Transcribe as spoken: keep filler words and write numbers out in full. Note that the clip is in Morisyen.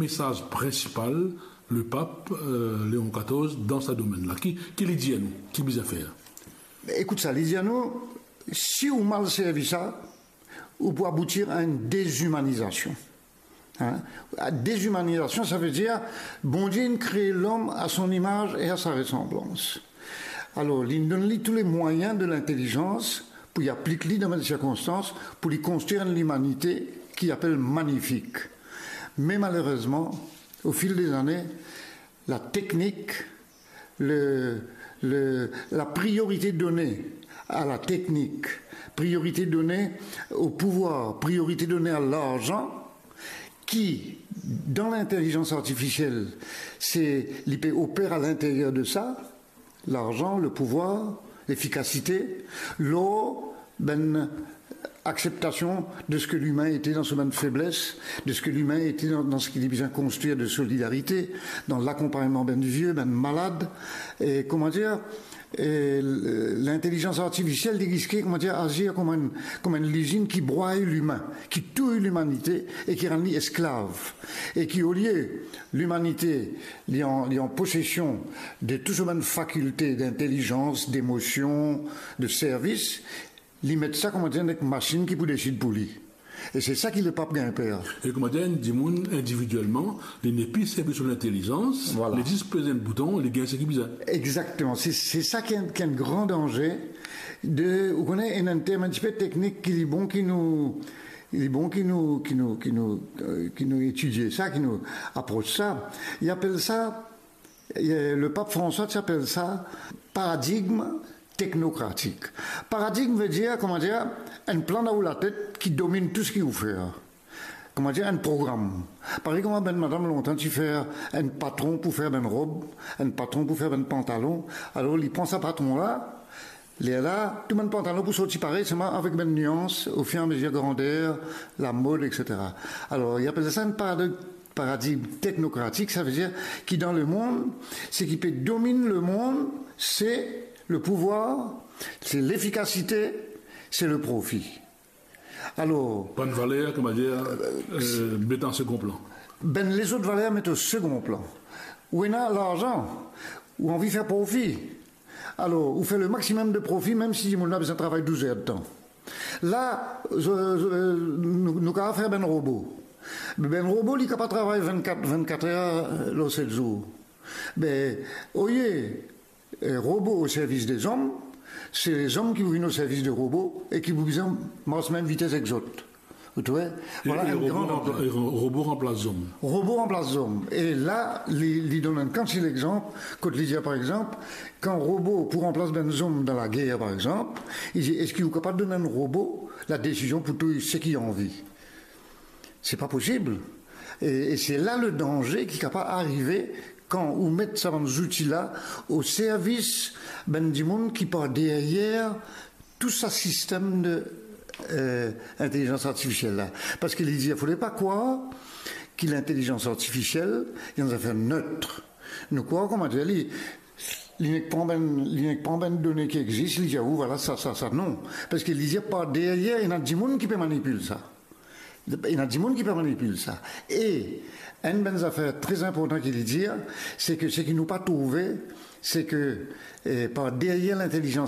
mesaz prinsipal lepap, eh, Leon katorz dan sa domenn la? Ki, ki li dir nou, ki bizin fer? Ekout sa, li dir nou, si ou mal servi sa, ou pou aboutir a enn dezimanizasion. Hein? Dezimanizasion, sa ve dir, Bondie inn kree lom a son imaz e a sa resanblans. Alor, li donn li tou le mwayin de lintelizans pou li aplik li dan bann sirkonstans, pou li konstrir enn limanite ki apel manifik. Me malerezman, o fil de zane, la teknik, le, le, la priorite done a la teknik, priorite done o pouvwar, priorite done a larzan, ki, dan lintelizans artifisiel, se, li pe oper a linteryer de sa, larzan, le pouvwar, lefikasite, lor bann akseptasion de seki limin ete dan so bann febles, de seki limin ete dan, dan seki li bizin konstrir de solidarite, dan lakonpagnman bann vie, bann malad, e, kouma dir, e, l-, lintelizans artifisiel, li riske, kouma dir, azir kouma enn, kouma enn lizinn ki bway limin, ki touy limanite e ki rann li esklav. E ki, olie limanite, li an, li an posesion de tou so bann fakilte d'intelizans, demosion, de servis, li met sa, kouma dir, dan enn masinn ki pou desid pou li. E se sa ki lepap gagn per. E kouma dir, enn dimoun individielman, li nepli servi so lintelizans, vwala, li zis pez enn bouton, li gagn seki bizin. Exakteman. Se, se sa ki enn, ki enn gran danze de, ou kone, enn, enn term enn tipe teknik ki li bon ki nou, li bon ki nou, ki nou, ki nou, eh, ki nou etidie sa, ki nou apros sa. Li apel sa, eh, lepap Franswa ti apel sa paradigm teknokratik. Paradigm ve dir, kouma dir, enn plan dan ou latet ki dominn tou seki ou fer. Kouma dir, enn program. Parey kouma bann madam lontan ti fer enn patron pou fer bann rob, enn patron pou fer bann pantalon. Alor, li pran sa patron la, lerla, tou bann pantalon pou sorti parey, selman avek bann nians, o fir e a mezir grander, lamod, et cetera. Alor, li apel sa enn parad-, paradigm teknokratik, sa ve dir ki dan lemond, seki pe dominn lemond, se le pouvwar, se lefikasite, se le profi. Alor, bann valer, kouma dir, eh, met an segon plan. Bann lezot valer met o segon plan. Ou ena larzan, ou anvi fer profi. Alor, ou fer le maximum de profi, mem si dimoun la bizin travay douz er de tan. La, zo-, zo-, nou, nou kapav fer bann robo. Bann robo, li kapav travay vennkat, vennkat er, eh, lor set zour. Be, olie, eh, robo o servis de zom, se zom ki pou vinn o servis de robo e ki pou bizin mars mem vites ek zot. Ou trouve? E, vwala e enn robo gran ranpla-, e ro-, robo ranplas zom. Robo ranplas zom. E la, li, li donn enn kantite lexanp, kot li dir, par exanp, kan robo pou ranplas bann zom dan lager, par exanp, li dir, eski ou kapav donn enn robo ladesizion pou touy seki li anvi? Se pa posib. E, e se la le danze ki kapav arive kan ou met sa bann zouti la o servis bann dimoun ki par deryer tou sa sistem de, eh, intelizans artifisiel la. Parski li dir, fode pa krwar ki lintelizans artifisiel, li enn zafer net. Nou krwar, kouma dir, li, li nek pran bann, li nek pran bann done ki existe, li dir, ou, vwala, sa, sa, sa, non. Parski li dir, par deryer, ena dimoun ki pe manipil sa. Ena dimoun ki pe manipil sa. E enn bann zafer tre inportan ki li dir, se ke seki nou pa trouve, se ke, eh, par deryer lintelizans